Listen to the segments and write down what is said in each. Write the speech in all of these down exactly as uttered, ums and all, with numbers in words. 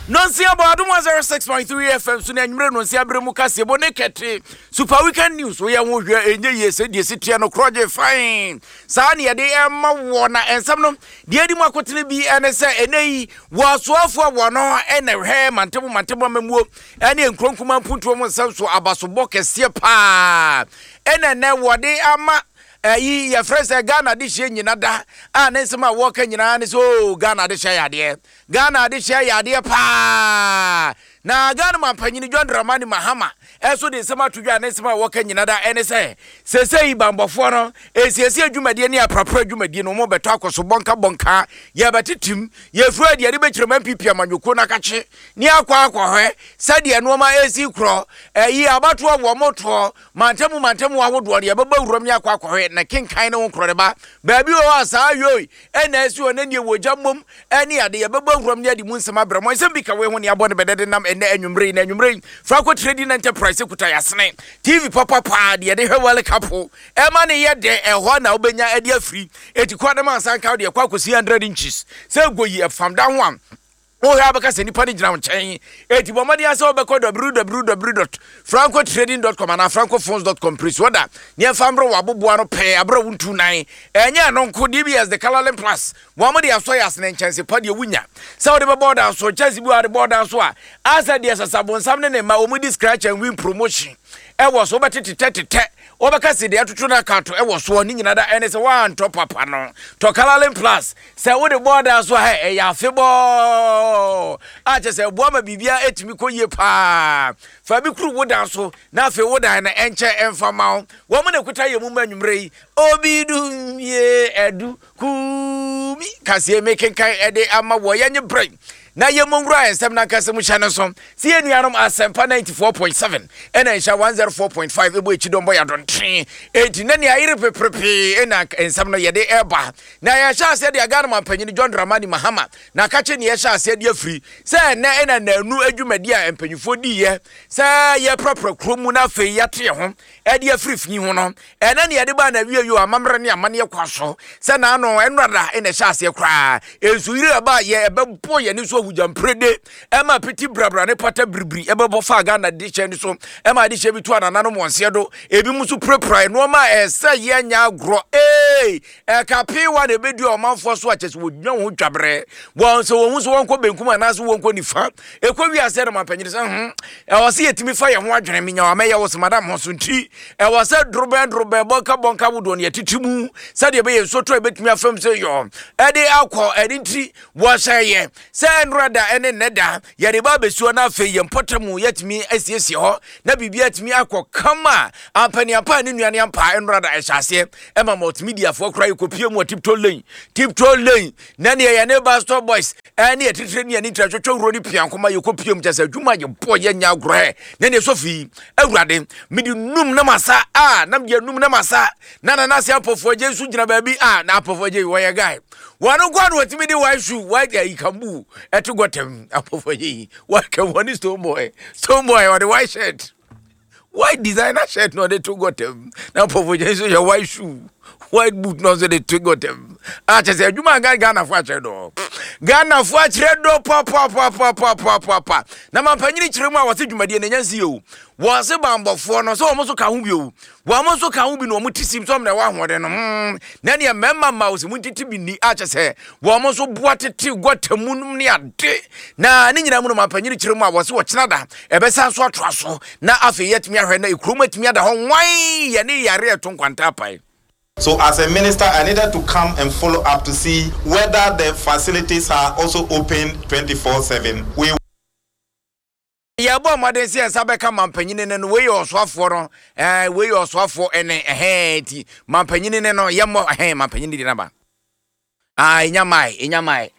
Nonsia bɔ Adom one oh six point three F M so na anwummerɛ nonsia berɛ mu kaseɛbɔ ne kɛte Super Weekend News. Woyɛ ho hwɛ, ɛnyɛ yie sɛ deɛ si teɛ no korɔgye fine saa ne yɛde ɛma wɔ. Na ɛnsɛm no deɛ adi mu akotene bi ɛne sɛ ɛnɛ yi wɔasoafoɔ wɔ no ɛna hwɛ mantam mantam amamuo ɛne nkuronkuma mpuntuo mu nsɛm so abasobɔ kɛseɛ paa ɛna ɛnɛ wɔde ama ɛyi yɛfrɛ sɛ Ghana de hyɛ nyina da a ne nsɛm a wɔka nyinaa ne sɛ o Ghana de hyɛ yɛ adeɛ, Ghana de hyɛ yɛ adeɛ paa. Na Ghana mampanyini John Dramani Mahama ɛso de nsɛm ato dwa a ne nsɛm a wɔka nyina da ɛne sɛ sɛsɛyi bambɔfoɔ no esiesie dwumadie ne aprapra dwumadie no wɔn bɛtɔ akɔ so bɔnka bɔnka. Yɛbɛtetem yɛfiri adi yɛde bɛkyerɛ mu N P P amanyɔkuo no akakye ne akɔ akɔhwɛ sɛdeɛ nneɛma esi korɔ ɛyi abatoɔ wɔ motoɔ mantamu mantamu ahodoɔ no yɛbɛbɔ wuram ne akɔ akɔhwɛ na kenkan ne ho korɔ ne ba baabi wɔ hɔ a saa yoi ɛna esi hɔ ne neɛ wɔ gya mmom ɛne ade yɛbɛbɔ wuram ne ade mu nsɛm abrɛ mo. Nsɛm bi ka wei ho ne abɔ ne bɛdɛ de nam ɛnɛ anwummerɛ yi. Na anwummerɛ yi Franco Trading Enterprise kuta yasene T V papapaa deɛ yɛde hwɛ World Cup ɛma ne yɛ dɛ. Ɛhɔ na wobɛnya ɛde afiri eti kɔ ne ma nsa nka deɛ ɛkɔ akɔsi hundred inches sɛ goyi ɛfam da ho a wohwɛ abɛka sɛ nipa no gyina wo nkyɛn. Eti bɔ mmɔden sɛ wobɛkɔ w w w dot francotrading dot com anaa francophones dot com pere so ɔda ne ɛmfa mmerɛ wɔ aboboa no pɛɛ aberɛ wontu nan. Ɛnyɛ ɛno nko, D B S de Colorlin Plus wɔn mo de asɔ yɛ asene nkyɛnse pa deɛ wonya sɛ wode bɛbɔ ɔdan so nkyɛnse bi wɔ de bɔ ɔdan so a asɛ deɛ sasabonsam ne ne mma wɔn di scratch and win promotion ɛwɔ so wobɛtetetɛ wɔbɛka sɛ deɛ ɛtoto no akato ɛwɔ soɔ ne nyina da ɛne sɛ woantɔ papa no tɔ Colorlin Plus sɛ wode bɔɔda so a ɛyɛ afebɔɔ a kyɛ sɛ ɛboa ma biribia ɛtumi kɔ yie paa. Fa bi kuru wo dan so na afei wo dan no ɛnkyɛ ɛmfa ma wo. Wɔn mo na ɛkuta yɛ mu ma anwummerɛ yi obi dum yie ɛdu kumi kaseɛ mekenkan ɛde ama wɔ. Yɛnye berɛ na yɛmmɔ nwura nsɛm no ankasa mu hyɛ no so sɛ yɛ nuanom Asɛmpa ninety-four point seven ɛna nhyɛ one oh four point five ɛbɔ akyi dɔmbɔ yɛ adɔnten. Enti na nea ayere peperepee ɛna nsɛm no yɛde ɛba na yɛhyɛ aseɛ de Ghana mampanyini John Dramani Mahama na akakye ne yɛhyɛ aseɛ de afiri sɛ ɛnɛ ɛna nanu adwumadi a mpanyinfoɔ diiɛ sɛ yɛprapra kurom mu na afei yɛate yɛ ho ɛde afiri fi ho no ɛnɛ ne yɛde baa na wie yo amammerɛ ne amanneɛ kwa so sɛ naano ɛnora ɛna ɛhyɛ aseɛ koraa nsuyiri aba yɛ ɛbɛbɔ yɛne so ahugyamprede ɛma piti brabra ne pata biribiri ɛbɛbɔ fa Ghana de hyɛ ne so ɛma ade hyɛ bi to anananom wɔn seɛ do ebi mu nso pirapira nneɛma a ɛsɛ yɛ nya agorɔ ee ɛka peewa na ɛbɛdua ɔmanfoɔ so akyɛ sɛ wɔgyina wɔn ho twaberɛ wɔn sɛ wɔn ho so wɔnkɔ benkum anaasɛ wɔnkɔ nifa ɛkɔ wiase no mampanyini sɛ ho ɛwɔ sɛ yɛtumi fa yɛn ho adwene menya wa mɛyɛ wo sɛ madam ho so nti ɛwɔ sɛ dorobɛn dorobɛn bɔnka bɔnka wodoɔ no yɛtete mu sɛdeɛ ɛbɛyɛ nsoto a ɛbɛtumi afam sɛ yɔ ɛde akɔ. Ɛne nti wɔhyɛ yɛ sɛ nnora da ɛne nnɛ da yɛde ba abɛsuo no afei yɛn mpɔtam mu yɛtumi asiesie hɔ na biribi atumi akɔ kama ampaniampa a ne nnuane ampa. Nnora da ɛhyɛ aseɛ ɛma multimediafoɔ koraa yɛkɔpie mu wɔ Tiptoe Lane, Tiptoe Lane na neɛ yɛne Pastor Boys ɛne yɛtitire ne yɛne ntira twɛtwɛ wuro ne piankoma yɛkɔpie mu kyɛ sɛ adwuma yɛbɔ yɛnya agorɔ na neɛ sɔfii awurade mede num na masa a na mede num na masa na nanase apɔfoɔ agye nso gyina baabi a na apɔfoɔ agye wɔyɛ guy wɔn nko na wɔtumi de white shoe, white ayi kambu ɛto gɔtɛm. Apɔfoɔ agye yi wɔka wɔne Stone Boy, Stone Boy ɔde white shirt, white designer shirt na ɔde to gɔtɛm na apɔfoɔ agye nso yɛ white shoe, white boot na ɔnso de to gɔtɛm a kyɛ sɛ adwuma a Ghanafoɔ akyerɛ dɔ, Ghanafoɔ akyerɛ dɔ papapapapapapa. Na mampanyini kyerɛ mu a wɔse dwumadie no ɛnya nsi yɛ o. Wɔse bambɔfoɔ no sɛ wɔn nso ka ho bi o, wɔn nso ka ho bi na wɔn ti sim sɛ wɔn na ɛwɔ ahoɔden no hmm na neɛ mmarima mma wɔsɛ mu ntete bi ni akyɛ sɛ wɔn nso boa tete gɔta mu nom ne ade. Na ne nyinaa mu no mampanyini kyerɛ mu a wɔse wɔkyena da ɛbɛsan so atoa so na afei yɛatumi ahwɛ na ekurom atumi ada hɔ nwan yɛne yare ɛto nkwanta apae. So as a minister, I needed to come and follow up to see whether the facilities are also open twenty-four seven. We Yɛbɔ mmɔden sɛ yɛnsa bɛka mampanyini no no wei yɛ ɔsoafoɔ no ɛɛ wei yɛ ɔsoafoɔ ɛne ɛhɛn ti mampanyini no no yɛmmɔ ɛhɛn mampanyini de naba aa enya mae enya mae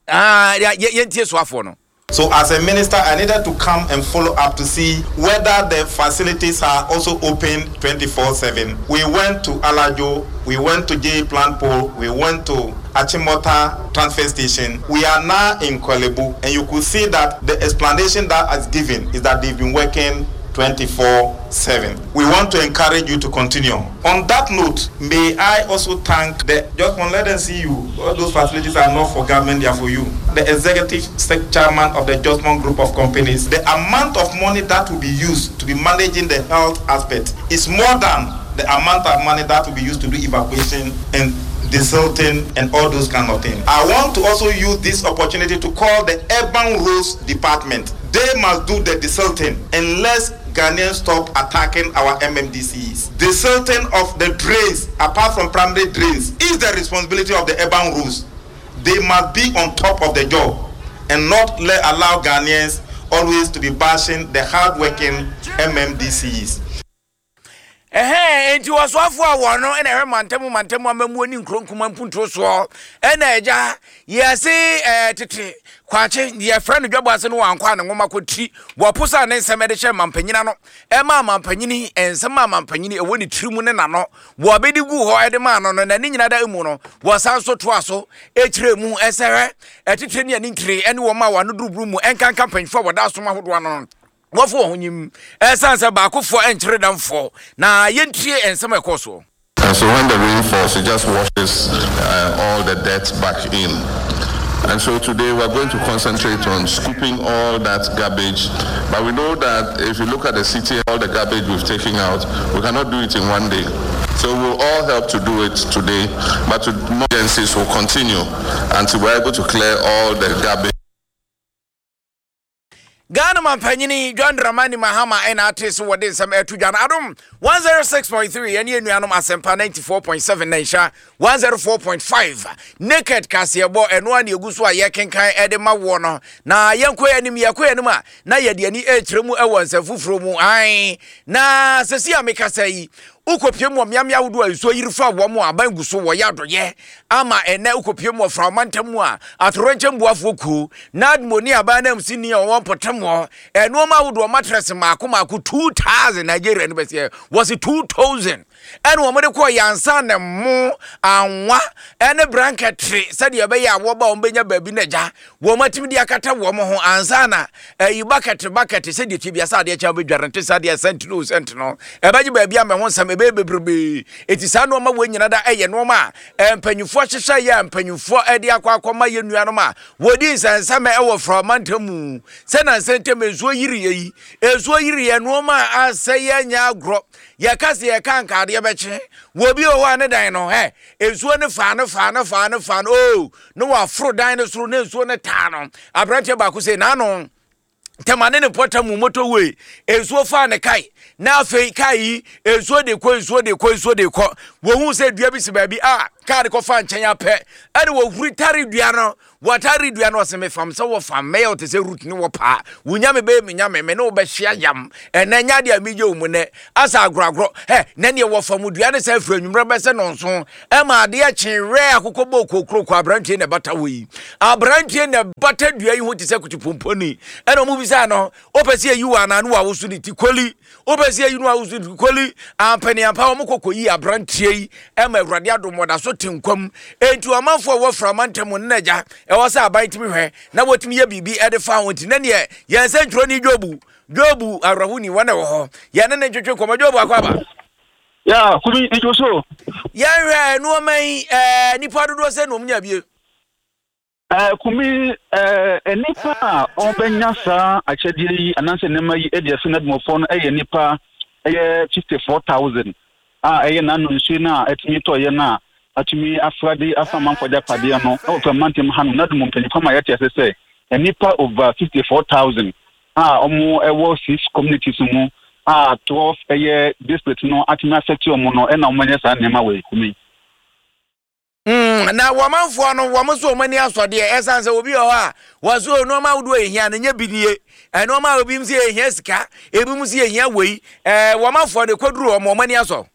aa yɛ yɛntie soafoɔ no. So as a minister, I needed to come and follow up to see whether the facilities are also open twenty-four seven. We went to Alajo, we went to J Plant Pole, we went to Achimota transfer station. We are now in Korle Bu, and you could see that the explanation that is given is that they've been working twenty-four seven. We want to encourage you to continue. On that note, may I also thank the, just want let them see you. All those facilities are not for government, they are for you. The executive chairman of the Justmoh Group of Companies, the amount of money that will be used to be managing the health aspect is more than the amount of money that will be used to do evacuation and desilting and all those kind of things. I want to also use this opportunity to call the Urban Roads Department. They must do the desilting unless Ghanaians stop attacking our M M D C Es. Desilting of the drains, apart from primary drains, is the responsibility of the urban roads. They must be on top of the job and not let allow Ghanaians always to be bashing the hardworking M M D C Es. Ɛhɛn, enti wɔsoafoɔ a wɔn no ɛna ɛhwɛ mantam mantam amamuo ne nkuro nkuma mpuntuo soɔ, ɛna agya yɛse ɛɛ tete kwakye yɛfrɛ no dwabɔ ase no, wankɔ a ne nwoma kɔtiri wɔpo sa ne nsɛm ɛde hyɛ mampanyina no, ɛma mampanyini nsɛm a mampanyini ɛwɔ ne tiri mu ne n'ano wɔbɛdi gu hɔ ɛde maa no no na ne nyina da mu no, wɔsan so toa so ɛkyerɛ mu ɛsɛ hwɛ ɛtitire ne ani ntire ɛne wɔn a wɔano duruburu mu ɛnkanka mpanyinfoɔ a wɔda asom ahodoɔ ano no wɔfo wɔn ho nyim, ɛsan sɛ baakofoɔ ɛnkyerɛ damfoɔ na yɛntie nsɛm a ɛkɔɔ soɔ. And so when the rain falls, it just washes uh, all the dirt back in. And so today we're going to concentrate on scooping all that garbage. But we know that if you look at the city, all the garbage we've taken out, we cannot do it in one day. So we'll all help to do it today, but to, more agencies will continue until we're able to clear all the garbage. Ghana mampanyini John Dramani Mahama ɛna ate so wɔde nsɛm ɛto dwa no. Adom one oh six point three ɛne anuanom Asɛmpa ninety-four point seven na nhyɛ one oh four point five naked kaseɛbɔ ɛno a ne ɛgu so a yɛkenkan ɛde ma woɔ no. Na yɛnkɔ yɛ anim, yɛkɔ yɛ anim a na yɛde ani ɛkyerɛ mu ɛwɔ nsɛm foforɔ mu ae. Na sɛsi a mekasa yi, wokɔpie mu wɔ mmeammea ahodoɔ a nsuo yiri fa wɔ mu a, aban gu so wɔyɛ adɔyɛ ama ɛnɛ. Wokɔpie mu wɔ Frama ntam mu a, atorɔnkyɛm buafoɔ kuo na admoni aban nam si ni a wɔwɔ mpɔtam hɔ, ɛnoɔma ahodoɔ, mattress maako maako two thousand, Nigeria no bɛsɛ wɔse two thousand, ɛne wɔn de kɔɔ yansa ne mo anwa ɛne brankɛtere sɛdeɛ ɛbɛyɛ a wɔba wɔn bɛnya baabi na gya wɔn atumi de akata wɔn ho ansa na ɛyi bucket bucket sɛdeɛ tie biasa adeɛ kyɛn bɛdware nte sɛ adeɛ sɛnti no sɛnti no ɛbɛgye baabi ama ho nsɛm ɛbɛyɛ bebrebe. Eti saa nneɛma wɔ nyina da ɛyɛ nneɛma a mpanyinfoɔ hyehyɛ yɛ a mpanyinfoɔ ɛde akɔ akɔma yɛ nuanom a wɔdi nsɛnsɛm ɛwɔ Frama ntam mu sɛ nansa ntam nsuo yiri yɛ yi, nsuo yiri yɛ, nneɛma a asɛ yɛ nyɛ agorɔ. Yɛka sɛ yɛka nkadeɛ bɛkye wɔ bi wɔ hɔ a ne dan no ɛ nsuo no fa no fa no fa no fa no oo ne waforo dan no soro ne nsuo no taa no. Aberanteɛ baako sɛ n'ano tɛma ne ne pɔtɛ mu motorway nsuo fa ne kae na afei kae yi nsuo de kɔ, nsuo de kɔ, nsuo de kɔ. Wɔhu sɛ dua bi si baabi a kaa de kɔfa nkyɛn apɛ, ɛne wɔhuri tare dua no, wɔtare dua no. Ɔsɛ mefam sɛ wɔfam mɛyɛ wote sɛ root ne wɔ paa wo nyame bɛyɛ me nyame me ne wobɛhyia yam ɛnɛ nya deɛ megye wo mu nɛ asa agorɔagorɔ ɛ na neɛ wɔfam dua no sɛ afiri anwummerɛ bɛsɛ nɔnso ɛma adeɛ kye werɛ akokɔ bɔ kokuroko. Aberanteɛ na ɛbata wɔ yi, aberanteɛ na ɛbata dua yi ho te sɛ kutupomponi, ɛna ɔmo bisa no, wopɛ sɛ yɛyi wɔ anaa ne wawoso ne ti koli, wopɛ sɛ yɛyi no wawoso ne ti koli. Ampaniampa wɔn kɔkɔ yi aberanteɛ yi ɛma Awurade adom wɔda so te nkwam. Enti ɔmanfoɔ a wɔfra ɔmantam no n'agya ɛwɔ sɛ aban tumi hwɛ na wɔtumi yɛ biribi ɛde fa ho. Nti na neɛ yɛn sɛ ntwerɛ Jobu Jobu awerɛho wɔn na ɛwɔ hɔ, yɛne ne ntwetwe nkɔmmɔ. Jobu, akɔ aba. Ya kumi njo so. Yɛnhwɛ nneɛma yi, ɛɛ nipa dodoɔ sɛ na ɔmo nya bie. ɛɛ kumi, ɛɛ nipa a ɔbɛnya saa akyɛdeɛ yi anaasɛ nneɛma yi ɛde afi n'adumɔfoɔ no ɛyɛ nipa ɛyɛ fifty four thousand a ɛyɛ n'ano nsuo no a ɛtumi tɔɔyɛ no a atumi afrade afa amanfoɔ agyapadeɛ no ɛwɔ fɛ mantam ha no. N'adum mpanyinfoɔ ma yɛte ase sɛ nipa over fifty four thousand a wɔn ɛwɔ six communities mu a twelve ɛyɛ district no atumi affect wɔn no, ɛna wɔn nyɛ saa nneɛma wɔ kumi. Mm, na wɔmanfoɔ no wɔn nso wɔn ani asɔ deɛ, ɛsan sɛ obi wɔ hɔ a wɔso nneɛma ahodoɔ ehia no nyɛ bi nie. Nneɛma a obi nso ehia sika, ebi nso ehia wei, ɛɛ wɔmanfoɔ de kɔduru wɔn wɔn ani asɔ.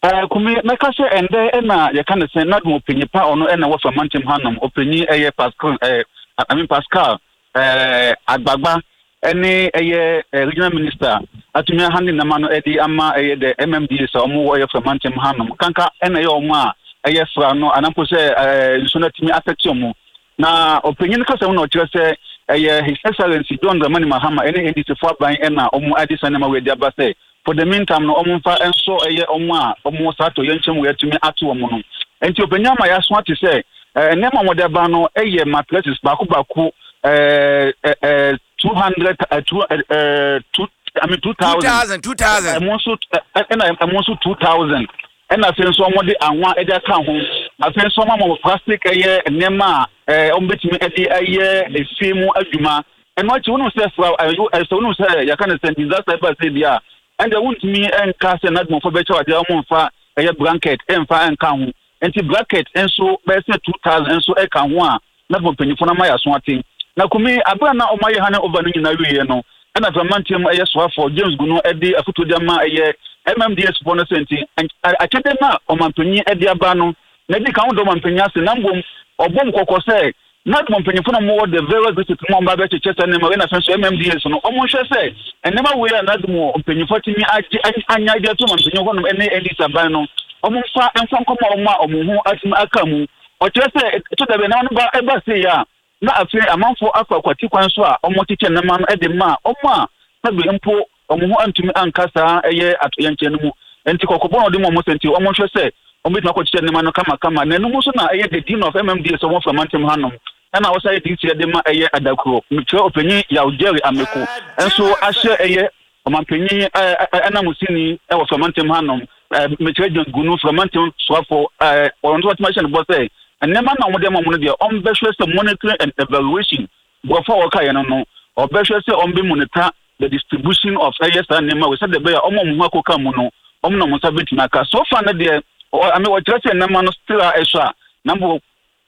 ɛɛ kumi, mɛka sɛ ɛndɛ ɛna yɛka ne sɛ n'adum ɔpanyin pa ɔno ɛna wɔ fɛ mantam hanom, ɔpanyin ɛyɛ Pascal ɛɛ I mean Pascal ɛɛ Agbagba ɛne ɛyɛ ɛɛ regional minister atumi aha ne nama no ɛde ama ɛyɛ the M M D A sɛ ɔmo wɔ ɛyɛ fɛ mantam hanom kanka ɛna ɛyɛ ɔmo a ɛyɛ fra no anampo sɛ ɛɛ nsuo no atumi afɛte ɔmo. Na ɔpanyin kasa mu na ɔkyerɛ sɛ Ɛyɛ His Excellency John Dramani Mahama ɛne N D C fo aban ɛna ɔmo ade saa nneɛma wei de aba sɛ for the meantime no, ɔmo mfa nso ɛyɛ ɔmo a ɔmo saa tɔ yɛn nkyɛn wɔ atumi ato ɔmo no. Nti ɔpanyin ama yɛaso ate sɛ ɛɛ nneɛma a wɔde aba no ɛyɛ mattresses baako baako ɛɛ ɛɛ two hundred ɛɛ two ɛɛ two, I mean, two thousand. Two thousand, two thousand. Ɛmo nso ɛna ɛmo nso two thousand, ɛna afei nso wɔn de anwa ɛde aka ho. Afei nso wɔn ama plastic, ɛyɛ nneɛma a ɛɛ wɔn bɛtumi ɛde ɛyɛ efie mu adwuma. Ɛno akyi, wɔn sɛ fura ɛɛ ɛsɛ wɔn sɛ yɛka ne sɛ disaster ɛba sɛ bi a, ɛnna wɔntumi ɛnka sɛ n'adumɔfo bɛkyɛw adeɛ, wɔn mfa ɛyɛ blanket ɛnfa ɛnka ho. Nti blanket nso bɛyɛ sɛ two thousand nso ɛka ho a n'adumɔ mpanyinfoɔ no ama yɛ aso ate. Na kumi abira na wɔn ayɛ hand over no nyinaa wie no, ɛna fɛmanteɛ mu ɛyɛ soafoɔ James Gunu ɛde afotuo de ama ɛyɛ M M D C foɔ no sɛ nti akyɛdeɛ no a ɔmanpanyin ɛde aba no na ɛdi kan wodɔ ɔmanpanyin ase, na mbom ɔbɔ mu kɔkɔ sɛ na mpanyinfoɔ no mowɔ the various district mu a ɔmo abɛkyekyɛ sɛ nneɛma wei na afɛn so M M D C no, ɔmo nhwɛ sɛ nneɛma wei a n'adum mpanyinfoɔ tumi agye anya agye ato ɔmanpanyin hɔnom ɛne N D C aban no, ɔmo nfa nfa nkɔmɔ ɔmo a ɔmo ho atumi aka mu. Ɔkyerɛ sɛ ɛtɔ dabi nneɛma no ba ɛba se yɛ a, na afei amanfoɔ akɔ akwati kwan so a ɔmo kyekyɛ nneɛma no ɛde ma ɔmo a sɛbi mpo ɔmo ho antumi anka saa ɛyɛ atoyɛnkyɛn no mu. Nti kɔkɔbɔ na ɔde mu ɔmo sɛ nti ɔmo nhwɛ sɛ ɔmo bɛtumi akɔkyekyɛ nneɛma no kamakama. Na ɛnum nso na ɛyɛ the dean of M M D C ɔmo fura mantam hanom, ɛna wɔsan yɛ D C ɛde ma ɛyɛ Adakuro, mekyerɛ ɔpanyin Yaw Jerry Ameko, nso ahyɛ ɛyɛ ɔmanpanyin ɛɛ ɛnamusini ɛwɔ furamantam hanom, ɛɛ mekyerɛ John Gunu, furamantam soafo, ɛɛ ɔno nso wɔtumi ahyɛ no bɔ sɛ nneɛma na wɔde ama wɔn no deɛ, ɔmbɛhwɛ sɛ monitoring and evaluation borɔfo a wɔka yɛ no no ɔbɛhwɛ sɛ ɔmbɛ monitor the distribution of ɛyɛ saa nneɛma wɔ sɛdeɛ ɛbɛyɛ ɔmo ɔmo ho akɔka mu no, ɔmo na ɔmo nsa bɛtumi aka. So far no deɛ, ɔ ame wɔkyerɛ sɛ nneɛma no still a ɛsɔ a, na mbo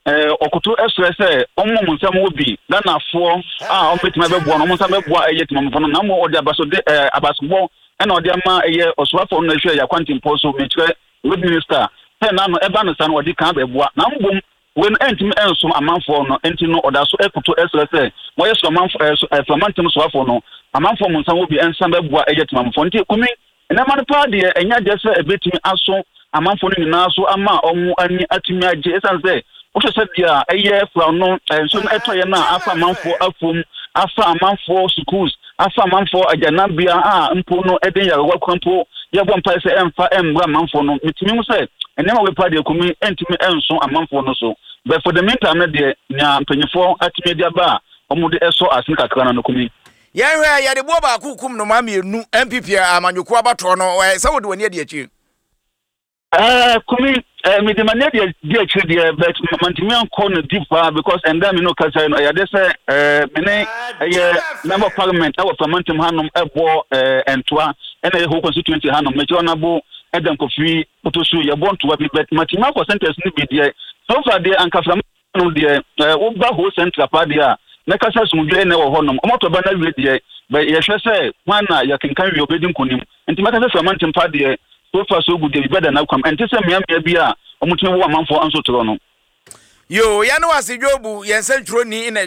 ɛɛ ɔkoto ɛsrɛ sɛ ɔmo ɔmo nsa wɔ bi Ghanafoɔ a ɔmo bɛtumi abɛboa no, ɔmo nsa bɛboa ɛyɛ tìmɔmɔfo no. Na mo ɔde abaso de ɛɛ abasobɔ ɛna ɔde ama ɛyɛ ɔsoafoɔ no ɛhwɛ yɛ akwantempɔ so, mekyerɛ road minister, sɛ n'ano ɛba no sa no ɔde kan bɛboa, na mbom wei no ɛntumi ɛnsom amanfoɔ no. Nti no ɔda so ɛkoto ɛsrɛ sɛ wɔyɛ so amanfo ɛɛ so ɛframantam soafoɔ no, amanfoɔ mo nsa wɔ bi ɛnsa bɛboa ɛyɛ tìmɔmɔfoɔ. Nti kumi nneɛma no paa deɛ, ɛnyɛ adeɛ sɛ ɛbɛtumi aso amanfoɔ no nyinaa so ama ɔmo ani atumi agye, ɛsiane sɛ wohwɛ sɛ deɛ a ɛyɛ fura no nsuo no ɛtɔ yɛ no a, afa amanfoɔ afuom, afa amanfoɔ schools, afa amanfoɔ agyanabea a mpo no ɛde nyarewa kwan mpo yɛbɔ mpae sɛ ɛmfa ɛmbra amanfoɔ no. Metumi hu sɛ nneɛma wei paa deɛ, kumi ɛntumi ɛnso amanfoɔ no so, but for the meantime no deɛ, nea mpanyinfoɔ atumi de aba a wɔde ɛsɔ asene kakra no no kumi. Yɛhwɛ, yɛde boɔ baako kum noma mmienu. N P P amanyɔkuo abatoɔ no, sɛ wode w'ani adi akyire? ɛɛ kumi ɛɛ mede m'ani adi di akyire deɛ, but mantumi ankɔ no deep paa because ɛnda mi no kasa no, ɛyɛ ade sɛ ɛɛ me ne ɛyɛ member of parliament ɛwɔ Flamantam hanom ɛbɔ ɛɛ ntoa, ɛna ɛyɛ whole constituency hanom, mekyerɛ ɔnabo ɛda Nkɔfiri Kotosu, yɛbɔ ntoa bi, but matumi akɔ centers no bi deɛ. So far deɛ, anka Flamantam deɛ, ɛɛ woba whole central paa deɛ a, mɛkasa asomdwe ɛna ɛwɔ hɔnom. Ɔmɔtɔ ba no awie deɛ, bɛ yɛhwɛ sɛ hwan na yɛkenkan wie ɔbɛdi nkonim. Nti mɛka sɛ Flamantam paa deɛ, so far so good deɛ, biribi da n'akwam, ɛnte sɛ mmeammea bi a ɔmotumi wɔ amanfoɔ nso torɔ no. Yo, yɛne wase dwobu yɛn nsɛntwerɛni na